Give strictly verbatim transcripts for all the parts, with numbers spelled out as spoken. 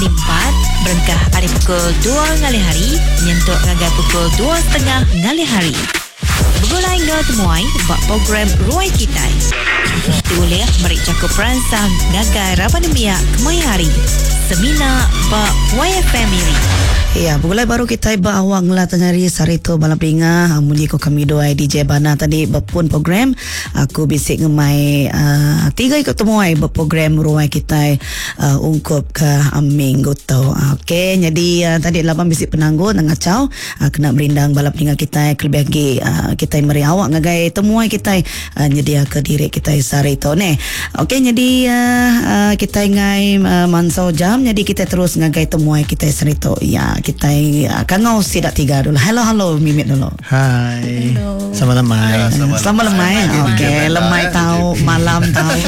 hari empat berengkah ari pukul dua ngalih hari nyentuk ngagai pukul dua setengah ngalih hari. Begulai enggau temuai ba program Ruai Kitai. Ti ulih meri jaku peransang ngagai raban nembiak kemaya hari. Semina ba Y F M Miri. Ya, begulai baru kita ba awak ngelah tengah hari sehari tu bala peninga. Munyi ko kami dua D J Bana tadi berpun program. Aku bisik ngemai uh, tiga ikut temuai berprogram Ruai Kitai uh, ungkup ke minggu tu. Okey, jadi uh, tadi laban bisik penanggul nang ngacau uh, kena merindang bala peninga kita kelebih lagi uh, kita meri awak ngagai temuai kita uh, nyedia ke diri kita sehari tu ne. Okey, jadi uh, uh, kita ngai uh, mansau jam, jadi kita terus ngagai temuai kita sehari tu. Ya, kita kangau sidak tiga dulu. Hello, hello, Mimit dulu. Hai. Hello. Selamat lemai. Ya, selamat lemai. Okey, lemai tahu, malam tahu.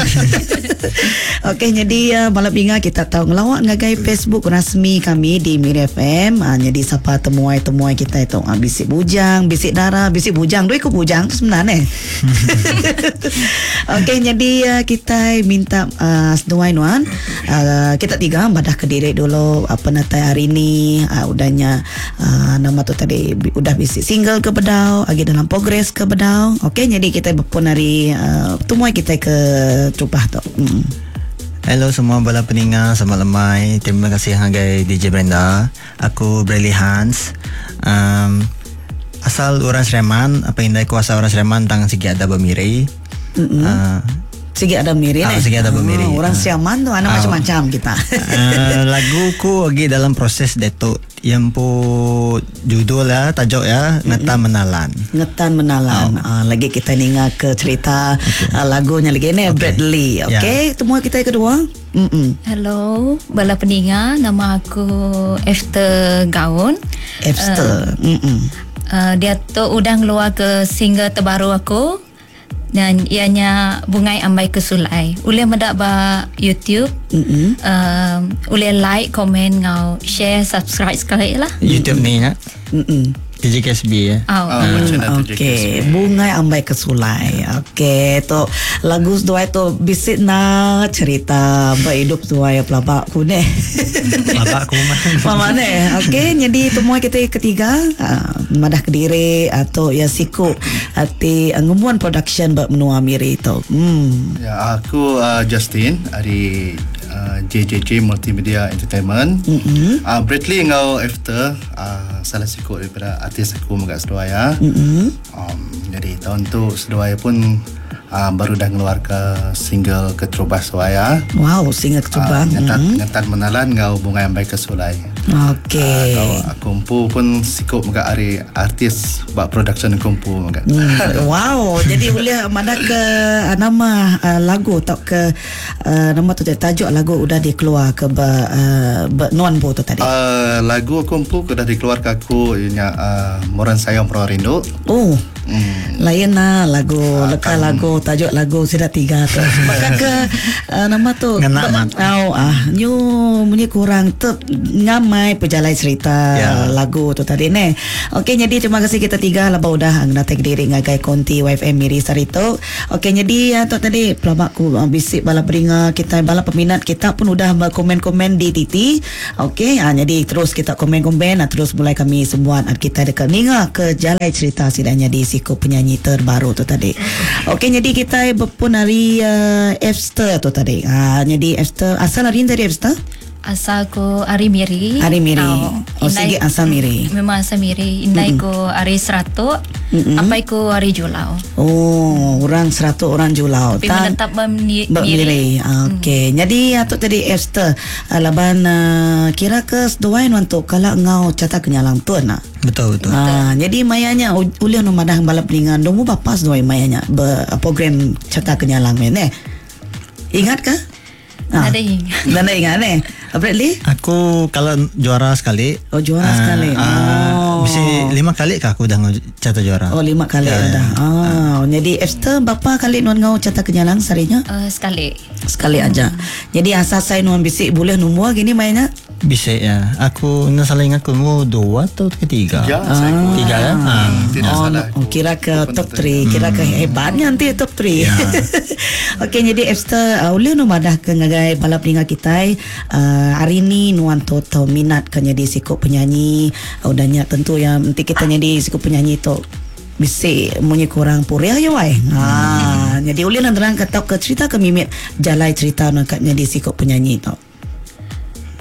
Okey, jadi uh, malam ingat kita tahu ngelawak ngagai Facebook rasmi kami di Miri F M. Uh, jadi siapa temuai-temuai kita itu uh, bisik bujang, bisik dara, bisik bujang. Dua ikut bujang tu sebenarnya. Okey, jadi uh, kita minta uh, seduai nuan uh, kita tiga badah ke diri dulu apa natai hari ni uh, udahnya uh, nama tu tadi udah bisik single ke bedau, lagi dalam progres ke bedau. Okey, jadi kita berpun hari uh, temuai kita ke Trupah tu. Hmm. Hello semua bala peninga, selamat lemai. Terima kasih ngagai D J Brenda. Aku Bradley Hans. Um, asal orang Sleman, apa indai kuasa orang Sleman tang sigi ada bermiri. Mm-hmm. Uh, sigi ada miri ah, sigi ada bermiri. Oh, orang Siaman tu ada uh, macam-macam kita. uh, lagu ku lagi dalam proses detok yang pu judul ya, tajuk ya, Ngetan Menalan. Ngetan Menalan. Oh. Uh, lagi kita ninga ke cerita okay. uh, lagunya lagi ni okay. Bradley. Okey, yeah. Temu kita yang kedua. Mm-mm. Hello, bala peninga, nama aku Efter Gaun. Efter. Uh, Mm-mm. Uh, dia tu udah ngeluar ke single terbaru aku. Dan ianya Bungai Ambai Kesulai. Boleh mendak ba YouTube. Mm-hmm. Uh, boleh like, komen, ngau share, subscribe sekali lah. YouTube ni ya. Mm-mm. T J K S B ya. Oh, oh, okey. Bungai Ambai Kesulai. Okey, tu lagu dua tu bisik na cerita berhidup dua ya pelabak ku ne. Pelabak ku mah. Mama ne. Okey, jadi temuai kita ketiga uh, madah kediri atau ya siku ati ngemuan production bak menua Miri tu. Hmm. Ya, aku uh, Justin dari uh, J J J Multimedia Entertainment. Mm-hmm. Uh, Bradley ngau Efter uh, salah siku daripada artis aku megak seduai ya. Mm-hmm. Um, jadi tahun tu seduai pun uh, baru dah ngeluar ke single Keterubah seduai. Wow, single Keterubah. Uh, ngetan, mm-hmm. Ngetan Menalan ngau Bungai Ambai Kesulai. Okey. Uh, aku empu pun sikop megak hari artis buat production aku empu megak. Mm, wow, jadi boleh mana ke uh, nama uh, lagu atau ke uh, nama tu tajuk lagu udah dikeluar ke be, uh, be, nuan bu tu tadi. Uh, lagu aku empu udah dikeluar ke aku ianya uh, Moran Sayang Moran Rindu. Oh. Hmm. Lain lah lagu uh, leka lagu tajuk lagu sudah tiga tu. Maka ke uh, nama tu Ngena mat. Oh, ah nyu munyi kurang tu ngamai pejalai cerita yeah. lagu tu tadi ne. Okey, jadi terima kasih kita tiga lah udah ngena diri ngagai konti Y F M Miri sarito. Okey, jadi uh, tu tadi pelabak ku uh, bisik bala peringa kita bala peminat kita pun udah komen-komen di T T. Okey, uh, jadi terus kita komen-komen uh, terus mulai kami semua uh, kita dekat ninga ke jalai cerita sidanya di siku penyanyi terbaru tu tadi. Okey, jadi kita berpun hari uh, Efter tu tadi. Ha, jadi Efter asal hari ni tadi Efter? Asal ku ari Miri. Ari Miri. Oh, oh sigi asal Miri. Memang asal Miri. Indai ku ari Seratuk. Mm-mm. Apai ku ari Julau. Oh, orang Seratuk orang Julau. Tapi menetap Miri. Miri. Okey. Mm. Jadi atuk tadi Esther laban uh, kira ke seduai untuk kalau ngau cata kenyalang tuan nak. Betul betul. Ha, jadi mayanya ulih nu madah balap peningan domu bapa seduai mayanya ber, program cata kenyalang ni. Ingat ke? Ha. Nada ingat. Nada ingat ni. Bradley? Aku kalau juara sekali. Oh, juara uh, sekali. Uh, oh. Mesti lima kali kah aku dah cata juara. Oh, lima kali ya, dah. Ya. Oh, jadi Esther berapa kali nuan ngau cata kenyalang sarinya? Uh, sekali. Sekali aja. Jadi asal saya nuan bisik boleh nombor gini mainnya? Bisa ya. Aku nak salah ingat aku mau dua atau ketiga. Tiga, saya ah. Tiga ya. Ah. Tidak oh, salah. Oh, kira ke top tiga, kira ke hebatnya nanti top tiga. Ya. Okey, jadi Ebster uh, ulih nu madah ke ngagai bala peninga kita uh, hari ni nuan tu tau minat ke jadi sikop penyanyi. Uh, udahnya tentu yang nanti kita jadi sikop penyanyi tu bisi munyi kurang puriah ya wai. Ha, hmm. Jadi ulih nak terang ke tau ke cerita ke mimit jalai cerita nak jadi sikop penyanyi tu.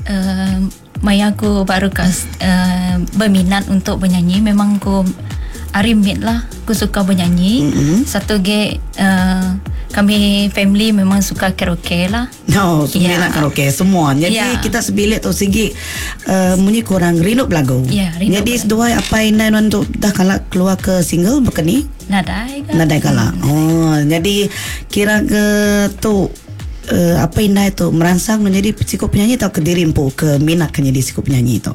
Uh, maya aku baru kas uh, berminat untuk bernyanyi, memang aku arimit lah, aku suka bernyanyi. Mm-hmm. Satu ge uh, kami family memang suka karaoke lah. No, semua Ya. nak karaoke semua. Jadi Ya. kita sebilik tu sigi uh, munyi kurang rindu belagu. Ya, rindu Jadi belagu. seduai apa inai non tu dah kala keluar ke single bekeni? Nadai ke? Nadai kala. Oh, jadi kira ke tu uh, apa inai tu merangsang menjadi sikop penyanyi atau ke diri empu ke minat ke jadi sikop penyanyi tu?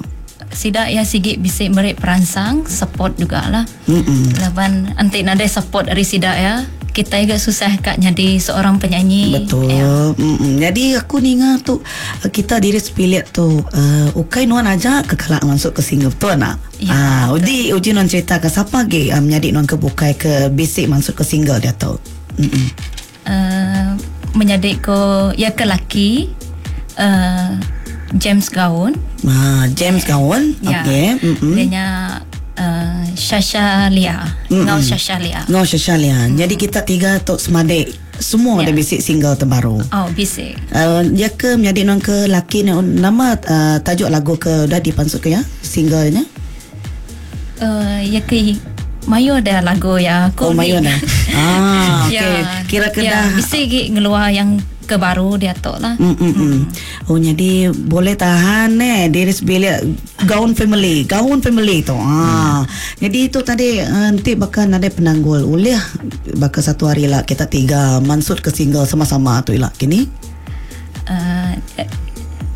Sidak ya sigi bisa merik perangsang support jugalah. Mm-mm. Laban anti nadai support dari sidak ya. Kita juga susah kak jadi seorang penyanyi. Betul. Ya. Mm-mm. Jadi aku ninga tu kita diri sepilik tu uh, ukai nuan aja ke kalak masuk ke single tu nak. Ya, ah, uji uji nuan cerita ke siapa ge uh, menjadi nuan ke bukai ke bisik masuk ke single dia tu. Mm-mm. Uh, menjadi ko ya ke laki uh, James Gaun. Ah, James Gaun. Ya. Okey. Mm-mm. Dia nya uh, Shasha Lia. Ngau Shasha Lia. No Shasha Lia. Jadi kita tiga tu semadik semua Ya. ada bisik single terbaru. Oh, bisik. Uh, dia ke menjadi nuan ke laki ni nama uh, tajuk lagu ke dah dipansut ke ya singlenya? Uh, ya ke Mayo ada lagu ya. Oh, Aku Mayo ni- dah. Ah, okey. Ya. Kira ke ya, dah. Bisik gi ngeluar yang ke baru dia tu lah. Mm, mm, mm. Oh jadi boleh tahan eh diri sebilik gaun family, gaun family tu. Ah. Hmm. Jadi itu tadi eh, nanti bakal ada penanggul. Ulih bakal satu hari lah kita tiga mansut ke single sama-sama tu lah kini. Uh,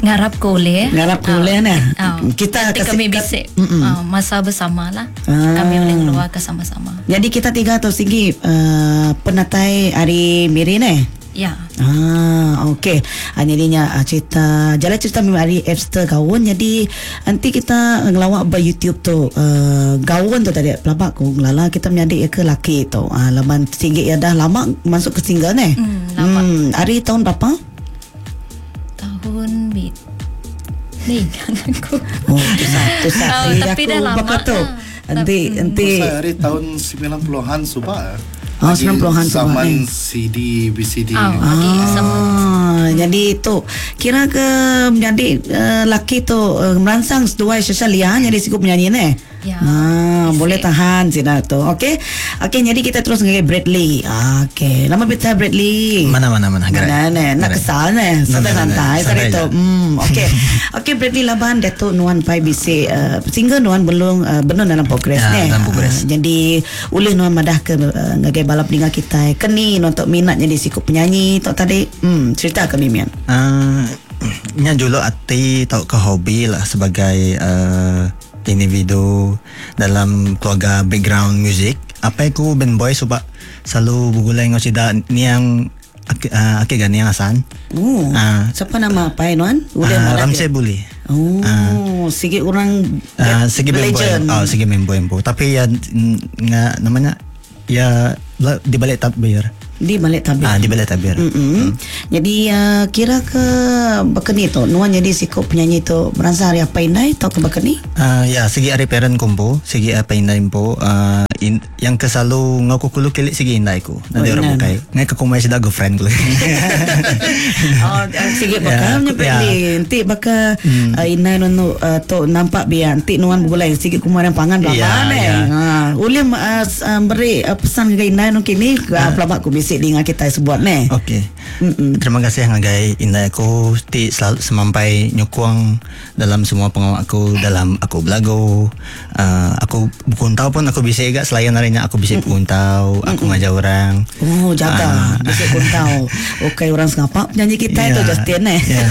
ngarap ko boleh. Ngarap ko boleh, nah. Ah, Kita nanti kasi- kami kat- bisik Mm-mm. uh, masa bersama lah. Ah. Kami boleh keluar ke sama-sama. Jadi kita tiga tu sigi uh, penatai hari miri ne. Ya. Ah, okey. Ah, jadinya ah, cerita jalan cerita memang hari Ebster gaun. Jadi nanti kita ngelawak ber YouTube tu uh, gaun tu tadi pelabak ku ngelala kita menyadik ya ke laki tu. Ah, laman tinggi ya dah lama masuk ke single ni. Hmm, lama. Hmm, hari tahun berapa? Tahun bit. Ni ingat aku. Oh, tu satu Oh, satu. tapi dah lama Berapa tu? lah. Nanti nanti Saya hari tahun sembilan puluhan subah. Oh, Lagi sembilan puluhan subah, Zaman eh. C D, V C D. Ah, lagi sama. Ah, jadi tu kira ke menjadi uh, laki tu uh, merangsang seduai Shasha Lia jadi sikup penyanyi ni. Ya. Ah, Bisik. boleh tahan sih tu. Okey. Okey, jadi kita terus dengan Bradley. Ah, okey. Lama kita Bradley. Mana mana mana. Gerai. Mana ne? Nak Gerai. kesal ne. Santai-santai Santai santai tu. je. Hmm, okey. Okey Bradley laban Datuk Nuan Pai bisik uh, single Nuan belum uh, belum dalam progres Ya, ne. dalam progres. Ah, jadi ulih Nuan madah ke uh, ngagai balap peninga kita keni nuan tok minat jadi sikup penyanyi tok tadi. Hmm, cerita ke Mimian. Uh, nya juluk ati tau ke hobi lah sebagai uh, individu dalam keluarga background music. Apa aku band boy sebab selalu bergulai dengan sida ni yang aki, uh, aki gan yang Hasan. Oh, Ah. siapa nama apa Nuan? Ulih Uh, madah Ramsey ke? Buli. Oh, sigi orang Uh, segi band boy. legend. Oh, segi main boy empu. Tapi ya nga namanya ya la- di balik tabir. Di balik tabir. Ah, di balik tabir. Mm-mm. Jadi uh, kira ke bekeni tu Nuan jadi sikop penyanyi tu merasa hari apa indai atau ke bekeni? Uh, ya, segi ari parent kumpu, segi apa indai empu, uh, in, yang ke selalu ngaku kulu kilik segi indai ku. Nanti Oh, orang indai. bukai. Ngai ke kumai sida girlfriend ku. Oh, sigi bakal Ya, nya ya. Bradley. Nanti bakal uh, indai nuan tu uh, tu nampak biar nanti nuan bergulai sigi kumaran pangan belakang Ya, eh. ya. Ha, ulih uh, s- uh, beri uh, pesan ke indai nuan kini uh, pelabak ku bisik dengar kita sebuat ne. Okey. Terima kasih ngagai indai aku ti selalu semampai nyukuang dalam semua pengawak aku dalam aku belagu. Uh, aku bukuntau pun aku bisa juga selain harinya aku bisa bukuntau, aku ngajar orang. Oh jaga Ah. Bisik kuntau Okey orang sengapak penyanyi kita Ya, itu Justin eh. ya.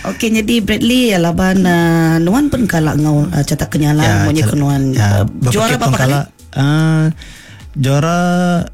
Okey jadi Bradley ya laban uh, Nuan pun kalak ngau uh, cetak kenyalan ya, cal- ke Nuan ya, uh, juara berapa berapa kali? Uh, juara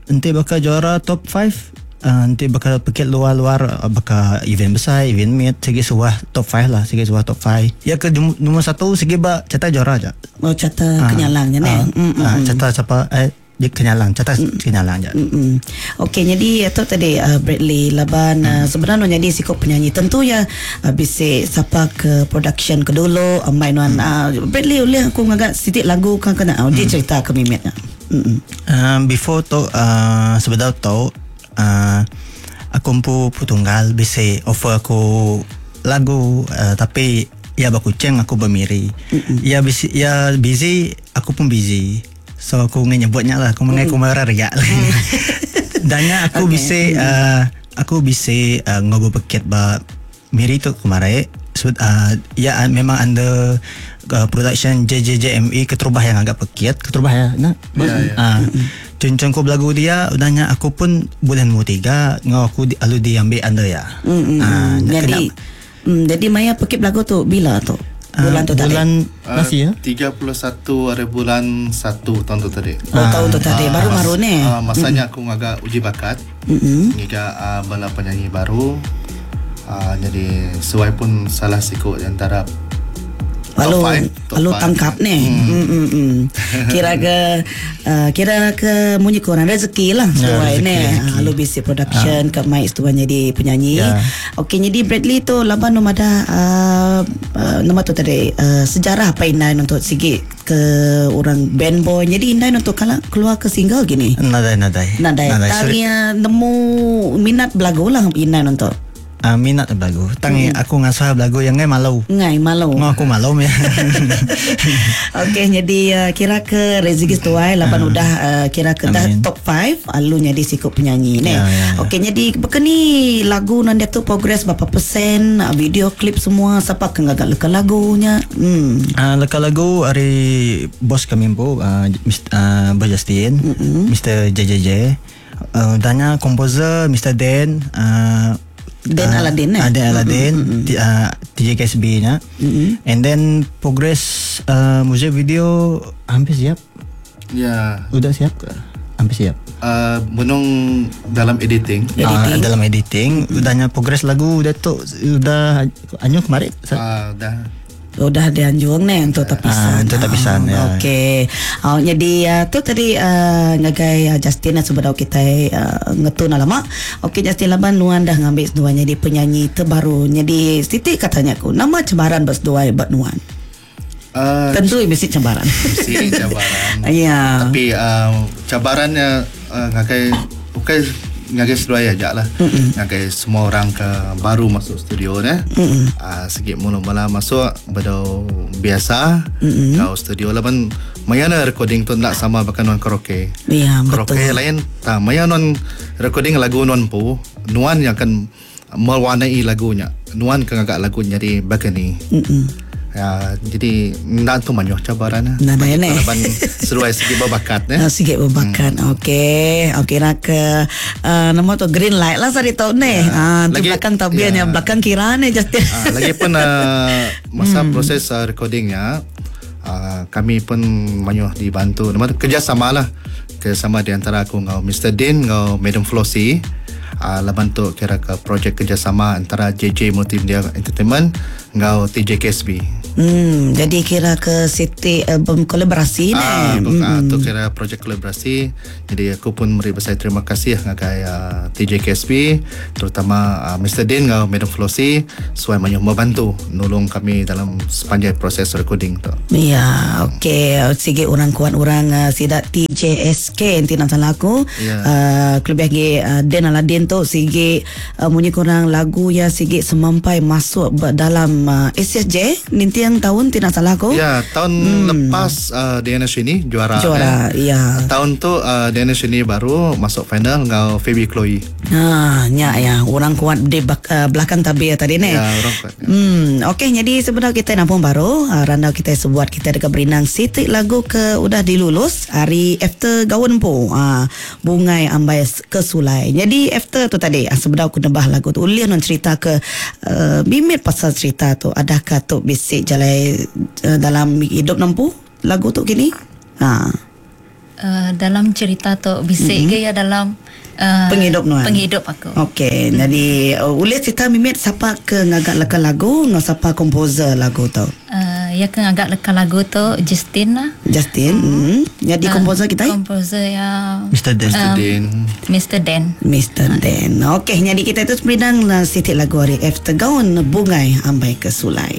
enti bakal juara top five Uh, nanti bakal pekit luar-luar bakal event besar, event mid, segi suah top lima lah, segi suah top lima. Ya ke nombor satu segi ba carta juara aja. Oh carta uh, kenyalangnya ne. Uh, uh, carta siapa eh dia kenyalang, carta mm. kenyalang aja. Mm. Okey, jadi itu tadi uh, Bradley laban uh, sebenarnya jadi sikop penyanyi tentu ya uh, bisa siapa ke production ke dulu amai nuan mm. uh, Bradley oleh aku ngagak sitik lagu kan kena uh, dia cerita ke mimitnya. Mm. Um, before tu uh, sebenarnya tu Uh, aku empu putunggal bisa offer aku lagu uh, tapi ya bakuceng aku bermiri. Ya busy, ya busy aku pun busy. So aku menyebutnya lah aku mengai aku marah riak. Dannya aku okay. bisa uh, aku bisa uh, ngobrol peket ba miri tu kemarin. So, uh, ya memang under uh, production J J J M E keterubah yang agak pekit keterubah ya nah ya, ya. Uh, cuncun ku belagu dia udahnya aku pun bulan mu tiga ngau aku di, alu diambil under ya. Mm, uh, jadi mm, jadi maya pekit belagu tu bila tu? Bulan tu uh, bulan tadi. Masih ya? tiga puluh satu hari bulan satu tahun tu tadi. Oh uh, tahun tu tadi uh, baru-baru ni. Uh, masanya mm. aku ngagak uji bakat. Mm-hmm. Ngiga uh, bala penyanyi baru. Uh, jadi sesuai pun salah sikut antara lalu lalu tangkap ni. Hmm. Hmm, hmm, hmm. Kira ke uh, kira ke munyi korang rezeki lah sesuai ni. Lalu B C production uh. ke mic tuan jadi penyanyi. Yeah. Okey jadi Bradley tu laban nom ada uh, uh, nama tu tadi uh, sejarah apa inai untuk sikit ke orang band boy. Jadi inai untuk kala keluar ke single gini. Nadai nadai. Nadai. Tanya nemu minat belagu lah inai untuk. Uh, minat belagu. Tang mm. aku ngasah belagu yang ngai malu. Ngai malu. Ngo aku malu ya. Okey jadi uh, kira ke rezeki tuai lapan uh, udah uh, kira ke dah top lima alu jadi sikop penyanyi ne. Ya, ya, ya. Okey jadi bekeni lagu nan dia tu progress berapa persen video klip semua siapa ke ngagak leka lagunya. Hmm. Uh, leka lagu hari bos kami empu uh, Mister uh, Bos Justin, mm-hmm. Mister J J J. Uh, danya komposer Mister Dan uh, Dan uh, Aladdin eh? Uh, Dan Aladdin mm-hmm. T, uh, T J K S B nya. Mm-hmm. And then progress uh, music video hampir siap. Ya. Yeah. Udah siap ke? Hampir siap. Uh, menung dalam editing. Editing. Uh, dalam editing. Udahnya progress lagu udah tu udah anyu kemarin. Ah uh, dah. Udah dianjung ni untuk tapisan. Ah, untuk tapisan oh, ya. Okey. Oh, jadi uh, tu tadi uh, ngagai uh, Justin sebab kita uh, ngetun lama. Okey Justin laban nuan dah ngambil seduai jadi penyanyi terbaru. Jadi Siti katanya aku nama cabaran berseduai buat nuan. Uh, Tentu mesti cabaran. Mesti cabaran. Ya. Tapi uh, cabarannya uh, ngagai bukan ngagai seduai aja lah. Ngagai semua orang ke baru masuk studio ne. Ah uh, sikit mula-mula masuk bedau biasa. Kau studio lah ban maya na recording tu nak sama bahkan non karaoke. Ya, betul. Karaoke lain ta maya non recording lagu non pu nuan yang akan mewarnai lagunya. Nuan ke ngagak lagu jadi bagani. Mm-mm. Ya, jadi nak tu banyak cabaran lah. Nah, nah, nah. Laban seruai sikit berbakat eh. Sikit berbakat. Hmm. Okey. Okey nak ke uh, nama tu green light lah sari tau ni. Ya. Ah, tu belakang tabian ya. Belakang kira ni Justin. Ah, lagi pun uh, masa hmm. proses uh, recordingnya uh, kami pun banyak dibantu. Nama tu kerjasama lah. Kerjasama di antara aku ngau Mister Din ngau Madam Flossie. Uh, laban tu kira ke projek kerjasama antara J J Multimedia Entertainment ngau T J K S B. Hmm, jadi kira ke Siti album kolaborasi ni. Ah, hmm. Tu kira projek kolaborasi. Jadi aku pun beri besar terima kasih ngagai uh, T J K S B terutama uh, Mister Din ngau Madam Flossie suai banyak membantu nolong kami dalam sepanjang proses recording tu. Ya, okey. Sige orang kuat orang uh, sidak T J S K nanti nak salah aku. Ya. Uh, kelebih lagi uh, Den Aladdin tu sige uh, munyi kurang lagu ya sige semampai masuk dalam uh, S S J nanti yang tahun tidak salah aku. Ya, tahun hmm. lepas uh, D N S ini juara. Juara, eh. ya. Tahun tu uh, D N S ini baru masuk final ngau Phoebe Chloe. Ha, nya ya, orang kuat di bak, uh, belakang tabir tadi ni. Ya, orang kuat. Ya. Hmm, okey, jadi sebenarnya kita nampung baru uh, randau kita sebuat kita dekat Berinang sitik lagu ke udah dilulus hari after gaun po. Uh, bungai ambai kesulai. Jadi after tu tadi uh, sebenarnya aku nebah lagu tu ulian non cerita ke uh, bimit pasal cerita tu adakah tu bisik jalan uh, dalam hidup nampu lagu tu kini? Ha. Uh, dalam cerita tu bisik mm-hmm. ke ya dalam uh, Penghidup nuan. Penghidup aku. Okey, hmm. jadi uh, ulih cerita mimit siapa ke ngagak leka lagu ngau siapa komposer lagu tu? Uh, ya ke ngagak leka lagu tu Justin lah. Justin. Hmm. Jadi uh, komposer kita? Komposer ya Mister Dan. Mister Dan. Mister Dan. Mister Dan. Okey, jadi kita itu semidang lah sitik lagu hari F Tegaun Bungai Ambai Kesulai.